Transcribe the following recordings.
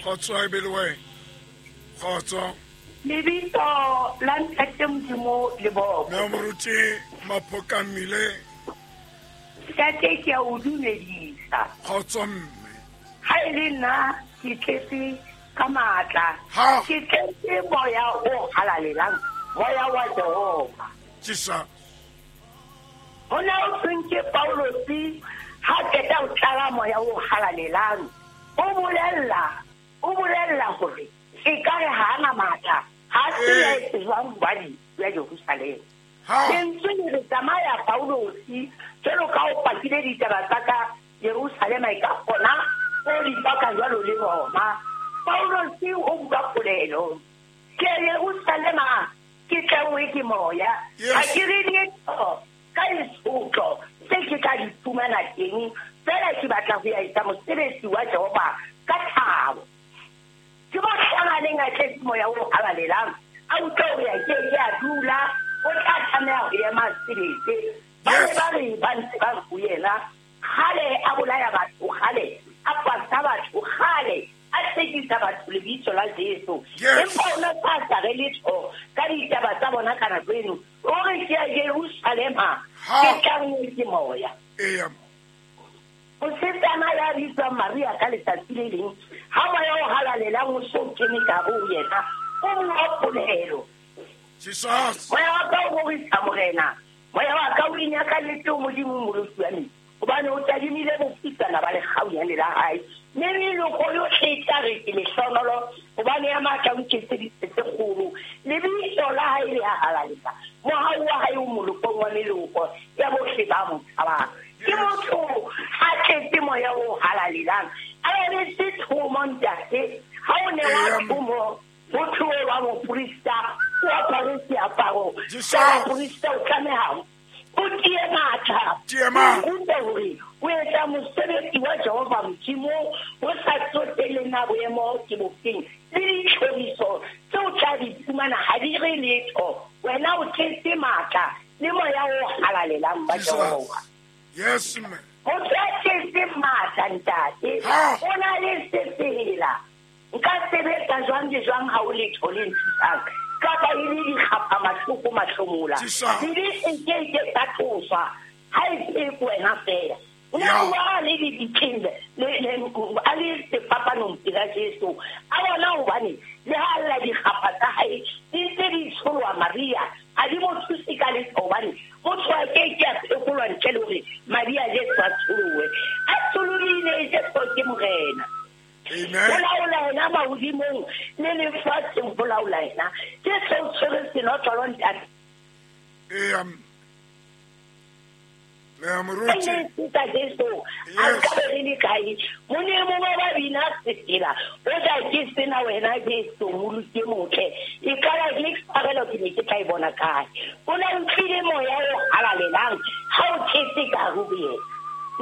Kgotso e be le wena. Kgotso. Lebitso la Ntate Modimo le boko. Mme Moruti Maphoka Mmile. Ntate ke a o dumedisa. Kgotso mme. Ha e le nna ke tletse ka matla. Ha. Ke tletse moya o halalelang, moya wa Jehova. Jesus. Ho ne ho thweng ke Paulosi ha qeta ho tlala moya o halalelang. O bolella, o bolella hore ekare ha a na matla, ha a tsebe a etse jwang hobane ya Jerusalema. Lentswe le re tsamaya Paulosi, jwalo ka o pakile ditaba tsa ka Jerusalema e ka kgona o di paka jwalo le Roma. Paulosi o bua polelo. Ke ya Jerusalema ke tlangwe ke moya. Ha ke re letho ka ditshotlo tse ke tla di fumana teng, feela ke batla ho ya etsa mosebetsi wa Jehova ka thabo. Ke mohlang a neng a tletse moya o halalelang, a utlwa hore a ke ke a dula, o tla tlameha ho ema a sebetse. Ba ne ba re ba ntse ba re ho yena, kgale a bolaya batho, kgale a pasa batho, kgale a tsekisa batho lebitso la Jesu. Empa o ne a sa re letho ka ditaba tsa bona ka nako eno. O re ke ya Jerusalema, ke tlanngwe ke moya. Mosetsana ya bitswang Maria ka letsatsi le leng, ha moya o halalelang o so kene ka ho yena, o bua polelo. Jesus. Moya wa ka o rorisa Morena, moya wa ka o inyakaletse ho Modimo Mmoloki wa me, hobane o tadimile bofutsana ba lekgaunyane la hae. Mme meloko yohle e tla re ke lehlohonolo, hobane ya matla o nketseditse tse kgolo. Lebitso la hae le a halalela, mohau wa hae o molokong wa meloko ya bohle ba mo tshabang. Ke motho a tletse moya o halalelang, a emetse thomo ntate. Ha o newa thomo, ho thoe wa moprista, o apare seaparo sa baprista, o tlameha o tie matla, o rute hore o etsa mosebetsi wa Jehova Modimo, ho sa tsotelle na boemo ke bofeng, le ditlhoriso tse o tla di fumana ha di re letho. Wena o tletse matla le moya o halalelang ba Jehova. Yes, ma'am. Motho ya tletseng matla ntate, o na le sefela. Nka sebetsa jwang le jwang ha o letho le nthusang, kapa e le dikgapha mahloko mahlomola. Dibe e ke ke tsa tloswa ha e se wena feela. O ne a bua le dibitleng a le sefapanong pela Jesu. A bona hobane le ha lla dikgapha tsa hae di ntse di tsholoha Maria, ha di mo thuse ka letho hobane motho a ke ke a phekolwa ntle le hore madi a Jesu a tsholohe. A tsholohile Jesu ke Morena. Ho laola yena mahodimong le lefatsheng, ho laola yena. Jesu o tshwere senotlolo ntate. Eya. Mme Moruti. Ka Jesu a nka be re le kae? Mone mongwe ba bina sefela, o ja ke sena wena Jesu Moloki e motle. E ka ba ke tshwarelo ke ne ke tla e bona kae? O ne utlwile moya o halalelang ha o tletse ka ho yena.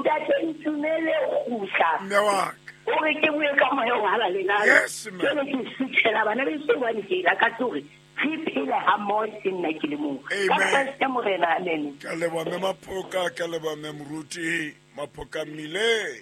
Ntate ntumele kgutla. Mme wa ka. Hore ke bue ka moya o halalelang. Yes, ma'am. Jwale ke suthela bana beso hobane ke lakatsa hore re phele ha mmoho e seng nna ke le mong. Ka Kreste Morena, amen. Ka leboha Mme Maphoka, ka leboha Mme Moruti Maphoka Mmile.